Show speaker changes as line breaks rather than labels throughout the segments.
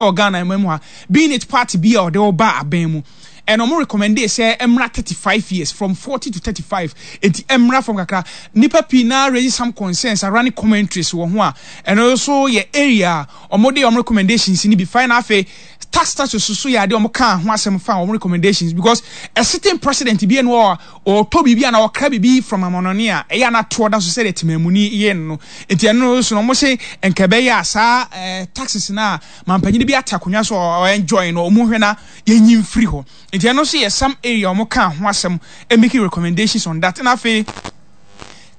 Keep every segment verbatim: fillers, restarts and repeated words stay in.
Wɔ Ghana man mu ha, being it party bi a ɔde ɔba abɛn mu, ɛna ɔmo recommend sɛ ɛmra thirty five years, from forty to thirty five. Eti ɛmra fam kakra. Nipa pii na raise some concerns around commentaries wɔ ho a, ɛno nso yɛ area a ɔmo de ɔmo recommendations ni bi fine. Afei tax status so yɛ adeɛ ɔmo kaa ho asɛm fa ɔmo recommendations, because a sitting president bi ɛno a ɔtɔ biribi a na ɔkra biribi from amanɔne a, ɛyɛ anatoɔ da so sɛdeɛ temamuni yɛ no no Nti ɛno nso no, ɔmo se nka ɛbɛyɛ a saa ɛɛ taxes na mampanyini bi ate akonnwa so a ɔenjoy no, ɔmo hwɛ na yɛnyi mfiri hɔ. Nti ɛno nso yɛ some area ɔmo kaa ho asɛm, making recommendations on that. Na afei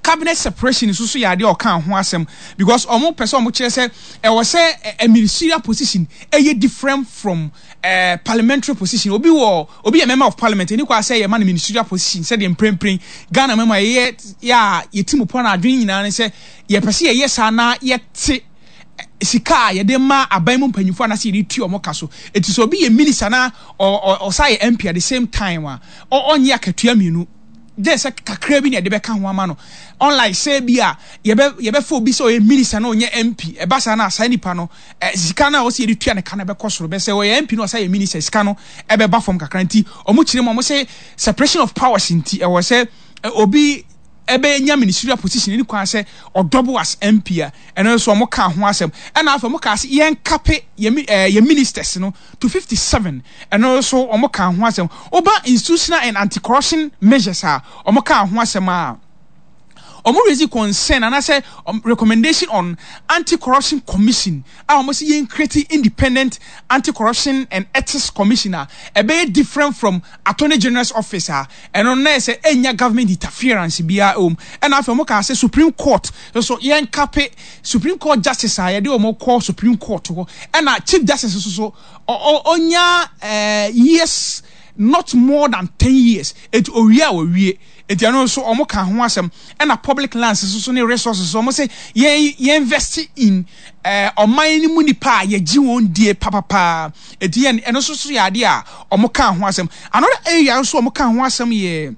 cabinet separation nso so yɛ adeɛ a ɔka ho asɛm, because ɔmo pɛ sɛ ɔmo kyerɛ sɛ ɛwɔ sɛ a ministerial position ɛyɛ different from uh, parliamentary position. Obi wɔ, obi yɛ member of parliament, ɛni kɔ asɛ yɛ ma no ministerial position, sɛdeɛ mprempren Ghana mɛma yɛyɛ yɛ a yɛti mu pɔn adwene nyinaa ne sɛ yɛpɛ sɛ yɛyɛ saa na yɛte sika a yɛde ma aban mu mpanyinfoɔ anaasɛ yɛde tu ɔmo ka so. Eti sɛ obi yɛ minister na ɔsa yɛ M P at the same time a, ɔnyɛ akatua mmienu, gye sɛ kakra bi na yɛde bɛka ho ama no, unlike sɛ bi a yɛbɛ yɛbɛfa obi sɛ ɔyɛ minister na ɔnyɛ M P. Ɛba saa na saa nipa no ɛ sika no a ɔsɛ yɛde tua ne ka no bɛkɔ soro. Bɛsɛ ɔyɛ M P na ɔsɛ yɛ minister, sika no ɛbɛba fam kakra. Nti ɔmo kyerɛ mu, ɔmo sɛ separation of powers nti, ɛwɔ sɛ obi ɛbɛnya ministerial position ne kwan sɛ ɔdouble as M P a, ɛno nso ɔmo ka ho asɛm. Ɛna afei ɔmo ka sɛ yɛn cap yɛ ɛɛ yɛ ministers no to fifty seven. Ɛno nso ɔmo ka ho asɛm. Ɔba institutional and anti-corruption measures a ɔmo ka ho asɛm a, ɔmo raise concern anaasɛ um, recommendation on Anti-Corruption Commission a ɔmo sɛ yɛn create independent Anti-Corruption and Ethics Commission a ɛbɛyɛ different from Attorney General's Office a, ɛno na yɛ sɛ ɛnya government interference biara ɛwɔ mu. Ɛna afei ɔmo kaa sɛ Supreme Court nso, yɛn cap Supreme Court justice a yɛde ɔmo kɔ Supreme Court hɔ, ɛna Chief Justice nso so ɔnya ɛɛ years not more than ten years, eti owie a owie. Eti ɛno nso ɔmo ka ho asɛm. Ɛna public lands nso so ne resources, ɔmo sɛ yɛn yɛn invest in ɛɛ ɔman no mu nipa a yɛgye wɔn die papapaa. Eti yɛn ɛno nso so yɛ adeɛ a ɔmo ka ho asɛm. Another area nso ɔmo ka ho asɛm yɛ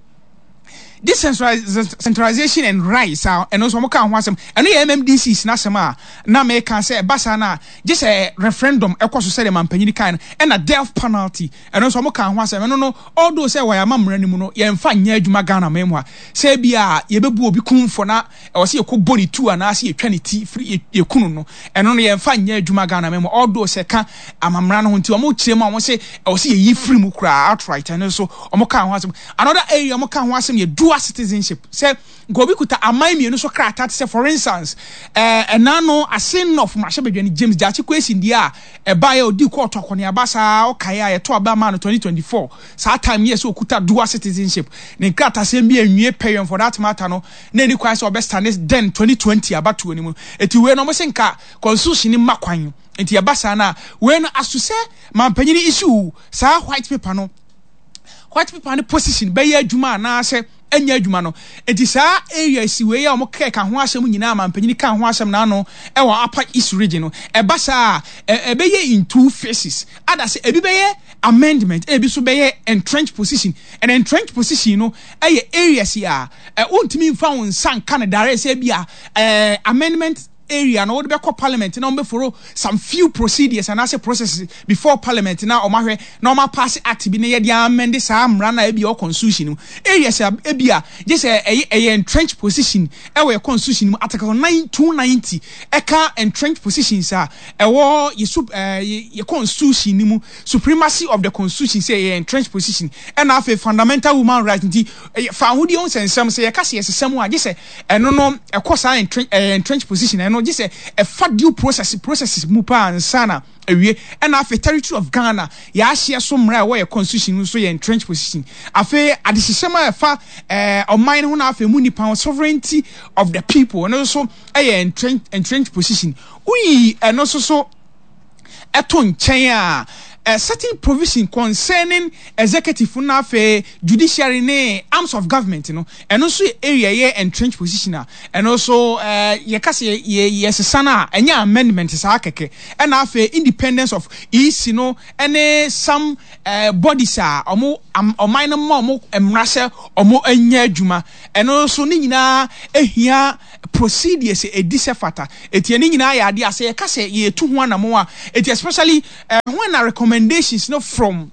decentralization and rights a, ɛno nso ɔmo ka ho asɛm. Ɛno yɛ M M D Cs n'asɛm a na mɛka sɛ ɛba saa na gye sɛ referendum ɛkɔ so sɛdeɛ mampanyini kan no. Ɛna death penalty, ɛno nso ɔmo ka ho asɛm. Ɛno no, although sɛ wɔyɛ ama mmara no mu no, yɛmfa nyɛ adwuma Ghana man mu a, sɛ bi a yɛbɛbu obi kumfɔ na ɛwɔ sɛ yɛkɔ bɔ ne tu anaasɛ yɛtwa ne ti firi yɛkunu no, ɛno no yɛmfa nyɛ adwuma Ghana man mu, although sɛ ka amammerɛ no ho. Nti ɔmo kyerɛ mu a, ɔmo sɛ ɛwɔ sɛ yɛyi firi mu koraa outright. Ɛno nso ɔmo ka ho asɛm. Another area ɔmo ka ho asɛm yɛ dual citizenship, sɛ nka obi kuta aman mmienu so krataa, te sɛ for instance ɛɛ ɛna no Assin North mmarahyɛbadwani James Gyakye Quayson deɛ a ɛbaeɛ, odi kɔɔto akɔneaba saa, ɔkaeɛ a yɛto aba maa no twenty twenty-four. Saa time yɛ sɛ okuta dual citizenship, ne nkratasɛm bi anwie pɛyɛn for that matter no, na ɛni kwan sɛ ɔbɛstand then twenty twenty abatoɔ no mu. Eti wei no, ɔmo sɛ nka constitution ni mma kwan. Nti ɛba saa na wei no aso sɛ mampanyini issue saa white paper no, white paper no position bɛyɛ adwuma anaasɛ ɛnyɛ adwuma no. Nti saa area si wei a wɔn kɛka ho asɛm nyinaa, mampanyini ka ho asɛm n'ano ɛwɔ Upper East Region no. Ɛba saa ɛbɛyɛ in two phases, ada sɛ ebi bɛyɛ amendment, ebi nso bɛyɛ entrenched position. And entrenched position no ɛyɛ areas yi a ɛ wontumi nfa wɔn nsa nka no direct, sɛ ebi a ɛɛ amendment area no, wɔde bɛkɔ parliament na wɔn bɛfollow some few procedures anaasɛ processes before parliament na wɔn ahwɛ na wɔn apass act bi na yɛde amend saa mmara na ebi ɛwɔ constitution mu. Areas a ebi a gye sɛ ɛyɛ ɛyɛ entrenched position ɛwɔ yɛ constitution mu, article nine two ninety ɛka entrenched positions a ɛwɔ yɛ sup ɛɛ yɛ constitution ni mu, supremacy of the constitution, sɛ ɛyɛ entrenched position. Ɛna afei fundamental human rights. Nti ɛyɛ fa ahodie ho nsɛnsɛm sɛ yɛka sɛ yɛsesɛ mu a, gye sɛ ɛno no ɛkɔ saa entrench ɛyɛ entrenched position. Ɛno gye sɛ ɛfa due process processes mu paa nsa na awie. Ɛna afei territory of Ghana, yɛahyɛ so mmara a ɛwɔ yɛ constitution no nso yɛ entrenched position. Afei adehyehyɛm a ɛfa ɛɛ ɔman no ho na afei mu nipa ho, sovereignty of the people, ɛno nso ɛyɛ entrenched entrenched position. Woyi ɛno nso so ɛto nkyɛn a, a certain provision concerning executive na afei judiciary ne arms of government no, ɛno nso yɛ area yɛ entrenched position a, ɛno nso ɛɛ yɛka sɛ yɛ yɛsesa no a, ɛnyɛ amendment saa kɛkɛ. Ɛna afei independence of E C no ɛne some ɛɛ bodies a ɔmo ɔman no ma ɔmo mmara sɛ ɔmo nyɛ adwuma, ɛno nso ne nyinaa ehia. procedures ɛdi sɛ fata. Eti ɛne nyinaa yɛ adeɛ a sɛ yɛka sɛ yɛtu ho anamo a, eti especially uh, when na recommendations no from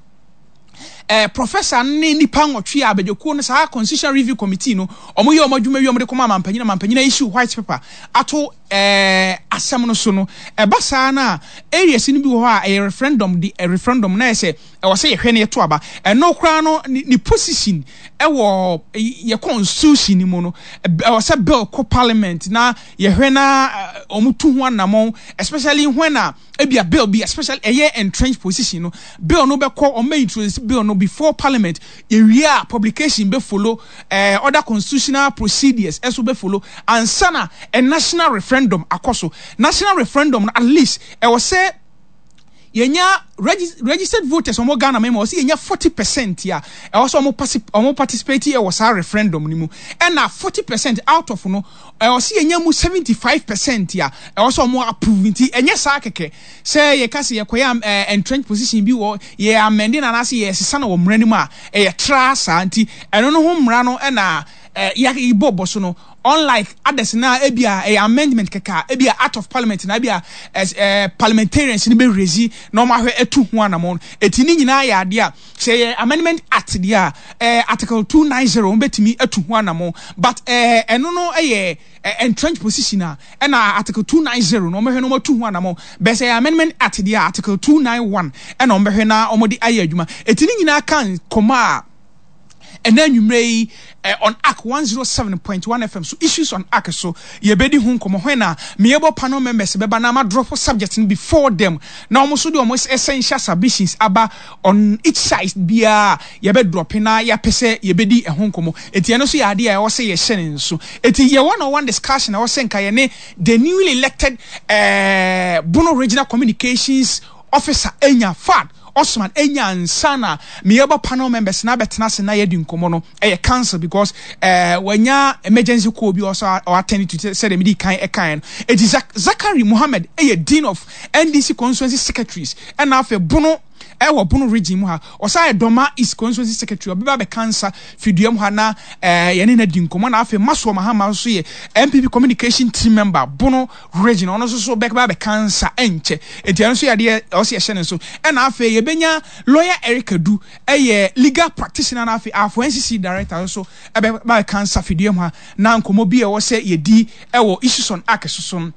uh, professor ne nipa nwɔtwe a abadwakuo no, saa Constitutional Review Committee no, ɔmo yɛ ɔmo adwuma wi, ɔmo de kɔma amampanyin, amampanyin issue white paper ato ɛɛ asɛm no so no, ɛba saa na areas no bi wɔ hɔ a ɛyɛ referendum de referendum na yɛ sɛ ɛwɔ sɛ yɛhwɛ ne yɛto aba. Ɛno koraa no, ne ne position ɛwɔ yɛ constitution ni mu no, ɛwɔ sɛ bill kɔ parliament na yɛhwɛ na ɔmo tu ho anammɔn, especially when a ebia bill bi, especially ɛyɛ entrenched position no, bill no bɛkɔ, ɔmo bɛ introduce bill no before parliament, yɛwie a publication bɛ follow, ɛɛ other constitutional procedures ɛso bɛ follow ansa na a national referendum akɔ so. National referendum no, at least ɛwɔ sɛ yɛnya registered voters ɔmo Ghana mɛma ɔsɛ yɛnya forty percent a ɛwɔ sɛ ɔmo ɔmo participate ɛwɔ saa referendum no mu, ɛna forty percent out of no, ɛwɔ sɛ yɛnya mu seventy five percent a ɛwɔ sɛ ɔmo approve. Nti ɛnyɛ saa kɛkɛ sɛ yɛka sɛ yɛkɔyɛ ɛɛ entrenched position bi wɔ yɛ amend na anaasɛ yɛsesa no wɔ mmara no mu a ɛyɛ tra saa. Nti ɛno no ho mmara no ɛna ɛɛ yɛbɔ bɔ so no, unlike others na ebi a ɛyɛ amendment kɛkɛ a ebi a out of parliament na ebi a ɛɛ parliamentarians ni bɛ raise na wɔn ahwɛ etu ho anamɔ. Eti ne nyinaa yɛ adeɛ a sɛ yɛ Amendment Act deɛ a, ɛɛ article two nine zero wɔn bɛtumi etu ho anamɔ, but ɛɛ ɛno no ɛyɛ entrenched position a ɛna article two nine zero na wɔn bɛhwɛ na wɔn atu ho anamɔ. Bɛsɛ yɛ Amendment Act deɛ a, article two nine one ɛna wɔn bɛhwɛ na wɔn de ayɛ adwuma. Eti ne nyinaa ka nkɔmɔ a ɛnɛ anwummerɛ yi eh, on A C one zero seven point one F M so, Issues on A C so, yɛbɛdi ho nkɔmmɔ hɔ na meyɛbɔ panel members bɛba na ma drop subject no before them na wɔn nso de wɔn essential submissions aba on each side biara. Yɛbɛ drop na yɛapɛ sɛ yɛbɛdi ɛho nkɔmmɔ. Eti ɛno nso yɛ adeɛ a ɛwɔ sɛ yɛhyɛ ne nso. Eti yɛ one on one discussion a ɛwɔ sɛ nka yɛne the newly elected eh, Bono Regional Communications Officer enya Fad Osman enya nsa na meyɛbɔ panel members na abɛtena ase na yɛdi nkɔmmɔ no, ɛyɛ cancel because ɛɛ wanya emergency call bi ɔsɔ ɔattend to sɛdeɛ medi kan ɛkan no. Eti Zakari Muhammed ɛyɛ dean of N D C constituency secretaries, ɛna afei Bono ɛwɔ Bono Region mu ha, ɔsan yɛ Dɔma East constituency secretary. Ɔbɛba abɛka nsa fidua mu ha na ɛɛ yɛne na di nkɔmmɔ. Na afei Masoɔ Mahama nso yɛ N P P communication team member, Bono Region. Ɔno nso so bɛba abɛka nsa ɛnkyɛ. Eti ɛno nso yɛ adeɛ ɔsɛ yɛhyɛ ne nso. Ɛna afei yɛbɛnya Lawyer Eric Adu, ɛyɛ legal practitioner, na afei afɔ N C C director nso ɛbɛba abɛka nsa fidua mu ha na nkɔmmɔ bi a ɛwɔ sɛ yɛdi ɛwɔ Issues on A C soso no,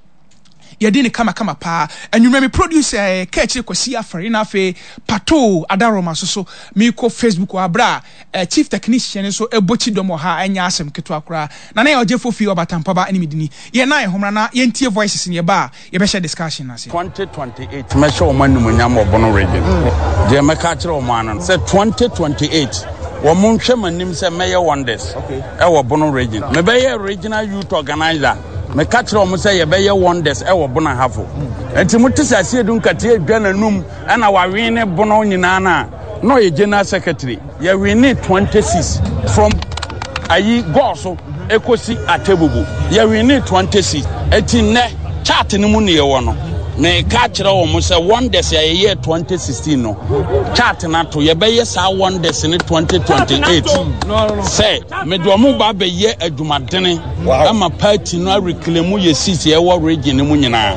yɛde ne kamakama paa. Anwummerɛ mi producer ɛɛ kɛkyire Kwasi Afari, na afei Pato Adaroma so so meekɔ Facebook wɔ abere a chief technician nso ɛbɔ kyi dɔm wɔ ha. Ɛnyɛ asɛm ketewa koraa na na yɛ ɔgye fofi ɔbatampaba ɛne medini yɛn na ɛhomra na yɛntie voices ne yɛba a yɛbɛhyɛ discussion ase.
twenty twenty-eight mɛhyɛ wɔn animuonyam wɔ Bono Region. Deɛ mɛka kyerɛ wɔn ano sɛ twenty twenty-eight wɔn nhwɛ m'anim sɛ mɛyɛ wonders ɛwɔ Bono Region. Mɛbɛyɛ regional youth organizer. Meka kyerɛ wɔn sɛ yɛbɛyɛ wonders ɛwɔ Bono Ahafo. Nti mo te sɛ Asiedu Nkatia edwa n'anum ɛna wawe ne Bono nyinaa na na ɔyɛ general secretary. Yɛwe twenty-six from ayi gɔɔ ekosi Atebubu, yɛwe twenty-six. Eti nnɛ chart no mu ne yɛwɔ no, meka kyerɛ wɔn sɛ wonders a yɛyɛ twenty sixteen no, chart no ato, yɛbɛyɛ saa wonders ne twenty twenty-eight sɛ mede wɔn ba abɛyɛ adwumadene ama party no areclaim yɛ seat ɛwɔ region no mu nyinaa.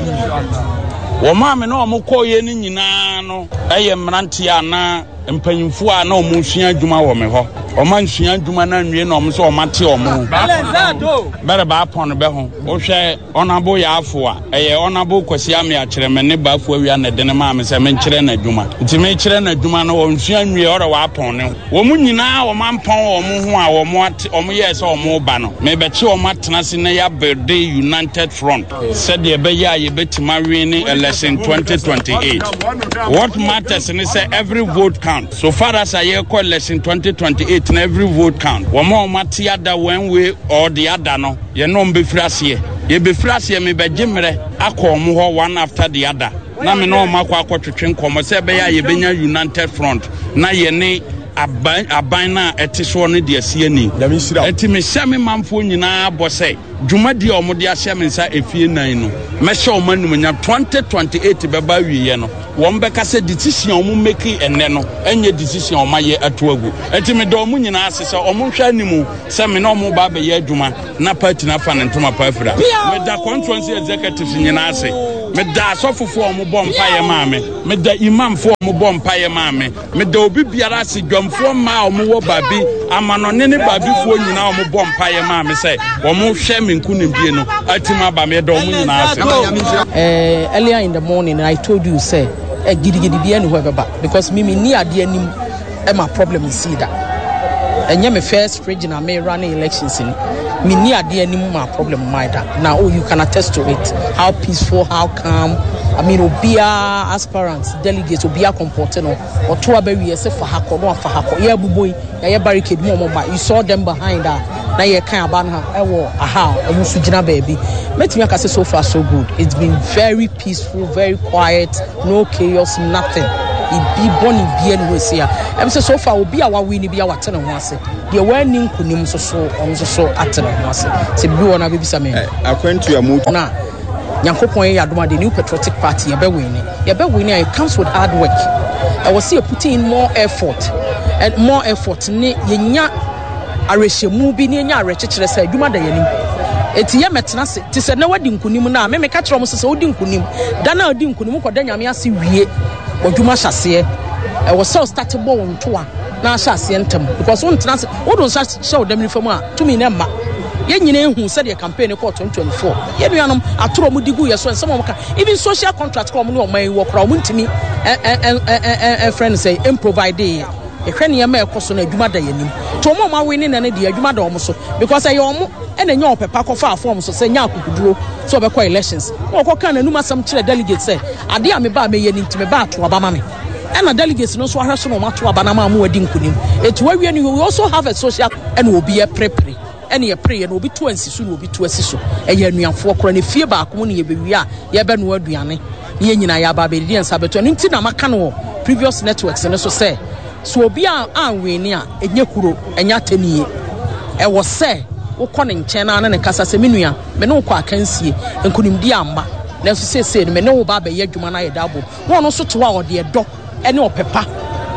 Wɔn a me ne wɔn kɔɔyɛ no nyinaa no ɛyɛ mmeranteɛ anaa mpanyinfoɔ a na wɔn sua adwuma wɔ me hɔ. Wɔn ansua adwuma no anwie na wɔn nso wɔn ate wɔn ho bɛrɛ baapɔn bɛ ho. Wohwɛ ɔnabo yɛ afo a ɛyɛ ɔnabo Kwasi Ame akyerɛ me ne baafo awia na ɛde ne maa me sɛ menkyerɛ n'adwuma. Nti mekyerɛ n'adwuma no, wɔnsua nwie, ɔrɛ wɔapɔn ne ho. Wɔn nyinaa wɔn ampɔn wɔn ho a wɔn ate wɔn yɛɛ sɛ wɔn ba no, mebɛkye wɔn atena ase na yɛabuild united front sɛdeɛ ɛbɛyɛ a yɛbɛtumi awe ne election twenty twenty-eight. What matters ne sɛ every vote count. So far as a yɛkɔ election twenty twenty-eight na every vote count. Wɔn a wɔn ate ada one way or the other no, yɛn no bɛfiri aseɛ, yɛbɛfiri aseɛ. Mebɛgye mmerɛ akɔ wɔn hɔ one after the other na me ne wɔn akɔ akɔtwetwe nkɔmmɔ sɛ ɛbɛyɛ a yɛbɛnya united front na yɛne aban aban no a ɛte soɔ no de asi ani. Enti mehyɛ me manfoɔ nyinaa bɔ sɛ dwumadie a wɔde ahyɛ me nsa efie nnan no, mɛhyɛ wɔn animuonyam. Twenty twenty eight bɛba awieɛ no, wɔn bɛka sɛ decision a wɔn make ɛnnɛ no ɛnyɛ decision a wɔn ayɛ ato agu. Enti meda wɔn nyinaa ase sɛ wɔn nhwɛ anim sɛ me ne wɔn reba abɛyɛ adwuma na party no afa ne ntoma pa afira. Meda constituency executives nyinaa ase. Meda asɔfofoɔ a wɔbɔ mpaeɛ maa me. Meda imamfoɔ a wɔbɔ mpaeɛ maa me. Meda obi biara ase, dwamfoɔ mmaa a wɔwɔ baabi, amanɔne ne baabifoɔ nyinaa a wɔbɔ mpaeɛ maa me sɛ wɔhwɛ me nkonimdie no atim aba. Meda wɔn nyinaa ase.
Eh, earlier in the morning I told you sɛ eh, gidigidi bi ɛni hɔ ɛbɛba because mi mi ni adeɛ anim ɛma problem nsi da. Ɛnyɛ me first region a me run elections ni. Mi ni adeɛ anim ma problem ma da. Now oh, you can attest to it. How peaceful, how calm. I mean, obiara aspirants, delegates, obiara comport no. Ɔto aba wie sɛ fa ha kɔ no afa ha kɔ. Yɛ abubo yi, yɛayɛ barricade mu ɔmo ba. You saw them behind a na yɛka aba no ha ɛwɔ aha a ɔmo nso gyina baabi. Mɛtumi aka sɛ so far so good. It's been very peaceful, very quiet, no chaos, nothing. Ibi bɔne bia ne hɔ esi a. Ɛm sɛ so far obi a wawe ni bi a wate ne ho ase. Deɛ wanni nkonim nso so ɔno nso so ate ne ho ase. Sɛ bibi wɔ no abɛbisa me.
Akwantu a mo
Na Nyankopɔn yɛ adom a the New Patriotic Party yɛbɛwin. Yɛbɛwin a it comes with hard work. Ɛwɔ sɛ yɛ putting in more effort and more effort ne yɛnya awerɛhyɛmu bi ne yɛnya awerɛkyekyerɛ sɛ adwuma da yɛnim. Eti yɛ mɛtena ase te sɛ na wadi nkonim no a me meka kyerɛ ɔmo sɛ sɛ wodi nkonim da na wodi nkonim kɔda Nyame ase wie w'adwuma hyɛ aseɛ. Ɛwɔ sɛ ɔstart bɔ wo ntoa na ahyɛ aseɛ ntɛm because wontena ase wode nsa hyɛ wo dam nifa mu a tumi no mma. Yɛn nyinaa ehu sɛdeɛ campaign no kɔɔ twenty twenty-four. Yɛn nuanom atoro ɔmo di gu yɛ so, nsɛm a ɔmo ka, even social contract kora ɔmo ne ɔman yi wɔ kora ɔmo ntumi ɛfrɛ no sɛ improvide yɛ. Yɛhwɛ nneɛma a ɛkɔ so no, adwuma da yɛn anim. Nti ɔmo a ɔmo awe ne nɛ no deɛ, adwuma da ɔmo so because ɛyɛ ɔmo ɛna ɛnyɛ ɔpɛpa kɔfa form so sɛ nya akokuduro sɛ ɔbɛkɔ elections na ɔkɔka n'anum asɛm kyerɛ delegate sɛ adeɛ a meba a mɛyɛ no nti meba ato aba ma me, ɛna delegates no nso ahwɛ so na ɔmo ato aba na ama ɔmo adi nkunim. Etu awie no, we also have a social ɛna obi ɛprepre ɛna yɛpre yɛ na obi to ansi so na obi to asi so. Ɛyɛ anuafoɔ korɔ na efie baako mu na yɛbɛwie a yɛbɛnoa aduane na yɛn nyinaa yɛaba abɛdidi yɛn nsa bɛto. Ɛno nti na maka no wɔ previous networks no so sɛ so obi a anwene a ɛnyɛ kuro, ɛnyɛ atɛnie. Ɛwɔ sɛ wokɔ ne nkyɛn na ne ne kasa sɛ me nua, me ne wo kɔ akansie, nkonimdi amma, nanso seesei no me ne wo ba abɛyɛ adwuma no ayɛ da abom na ɔno nso te hɔ a ɔde ɛdɔ ɛne ɔpɛpa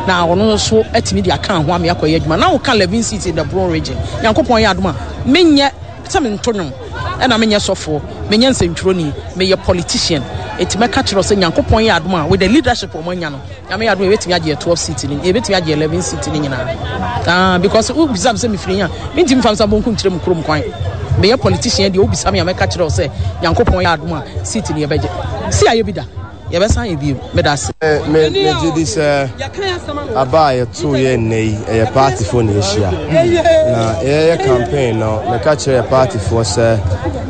na ɔno nso atumi de aka ho ame akɔyɛ adwuma. Na woka eleven seats in the Bono Region, Nyankopɔn yɛ adom a menyɛ sɛ mento nwom ɛna menyɛ sɔfoɔ, menyɛ nsɛntwerɛni, meyɛ politician. Ɛti mɛka kyerɛ sɛ Nyankopɔn yɛ adom a with the leadership ɔmo anya no, Nyame yɛ adom a yɛbɛtumi agye twelve seat no, yɛbɛtumi agye eleven seat no nyinaa. Ah, because wobisa me sɛ mefiri yi a mentumi fa nsa bonkum kyerɛ mu kurom kwan. Meyɛ politician deɛ, wobisa me a mɛka kyerɛ wo sɛ Nyankopɔn yɛ adom a seat no yɛbɛgye si ayɛ bi da, yɛbɛsan yɛ bio. Meda ase.
Me megye di sɛ aba a yɛtoo yɛ nnɛ yi ɛyɛ partyfoɔ na yɛhyia na yɛyɛ campaign no. Meka kyerɛ yɛ partyfoɔ sɛ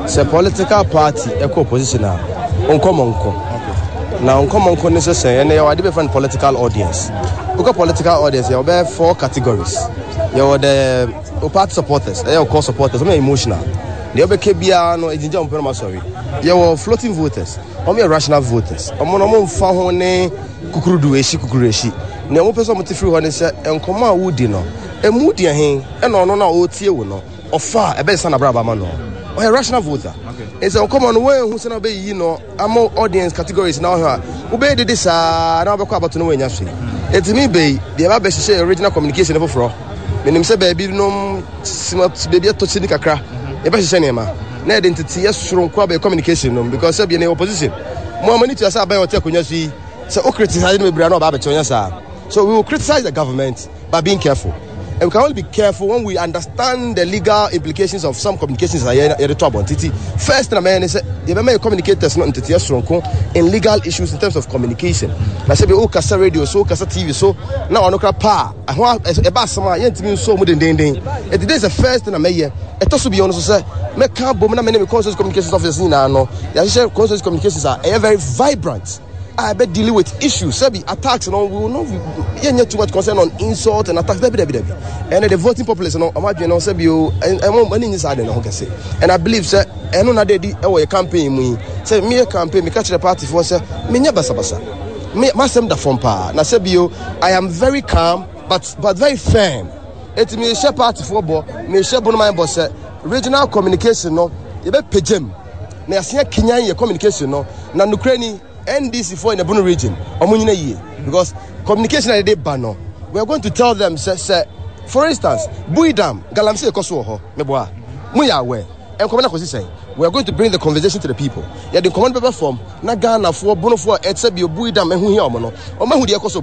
sɛ political party ɛkɔ opposition a, nkɔmmɔ nko na nkɔmmɔ nko ne sɛ sɛ ɛnɛ yɛwɔ ade bɛfrɛ no political audience. Wokɔ political audience, yɛwɔ bɛyɛ four categories. Yɛwɔ the o party supporters, ɛyɛ core supporters, ɔmo yɛ emotional, deɛ ɔbɛka biara no ɛgyingya ɔmo pɛ no ma sɔre. Yɛwɔ floating voters, ɔmo yɛ rational voters, ɔmo no ɔmo mfa ho ne kukurudu ehyi kukuru ehyi. Nea ɔmo pɛ sɛ ɔmo te firi hɔ ne sɛ nkɔmɔ a wodi no emu deɛ he ɛna ɔno na ɔretie wo no ɔfa a ɛbɛsesa n'abrabɔ ama no. Ɔyɛ rational voter. Nti nkɔmɔ no wɔn ehu sɛ na ɔbɛyiyi no ama audience categories na ɔhwɛ a wobɛyɛ dede saa na wobɛkɔ abato no wɔanya so yi. Ɛtumi bɛyi deɛ ɛba bɛhyehyɛ original communication foforɔ. Menim sɛ baabi nom baabi atɔ kyini kakra, yɛbɛhyehyɛ nneɛma na yɛde nteteyɛ soronko abɛyɛ communication nom because sɛ bia ne opposition mo ama ne tua sɛ aban ɔte akonnwa so yi sɛ wo criticize no bebree na ɔba abɛkyɛ ɔnyɛ saa. So we will criticize the government but being careful, and we can only be careful when we understand the legal implications of some communications a yɛde to abɔnten. Ti first na mɛyɛ ne sɛ yɛbɛma yɛ communicators no nteteɛ soronko in legal issues in terms of communication na sɛ bi wokasa radio so, wokasa T V so na ɔno kora paa ɛho ɛba asɛm a yɛntumi nso mu dendenden. Ɛti this is the first thing na mɛyɛ. Ɛtɔ so bio no so sɛ mɛka bom na mene me constituency communications officers nyinaa no yɛahyehyɛ constituency communications a ɛyɛ very vibrant a ɛbɛ dealing with issues sɛbi attacks no, we will not yɛnyɛ too much concern on insult and attacks. Dabi, dabi, dabi. Ɛnna the voting populace no ɔmo adwene no sɛbi o ɛmo ɛni nyi saa de ne ho kɛse. And I believe sɛ ɛno na de di ɛwɔ yɛ campaign mu yi sɛ meyɛ campaign, meka kyerɛ party foɔ sɛ menyɛ basabasa, me masɛm da fam paa na sɛbi o I am very calm. but but very firm. Eti mi hyɛ party foɔ bɔ, mi hyɛ Bonoman bɔ sɛ regional communication no yɛbɛ mu na yɛasen akenyan yɛ communication no. Na nukuri ni N D C foɔ in the Bono Region, ɔmo nyina yie, because communication a yɛde ba no, we are going to tell them sɛ sɛ for instance, Bui Dam galamsey ɛkɔ so wɔ hɔ, meboa mo yɛ aware, nkɔmɔ na kɔsi sɛn. We are going to bring the conversation to the people. Yɛde nkɔmɔ no bɛbɛ fam na Ghanafoɔ, Bonofoɔ a ɛsɛ bi Bui Dam ɛho hia ɔmo no, ɔmo ahu deɛ ɛkɔ so.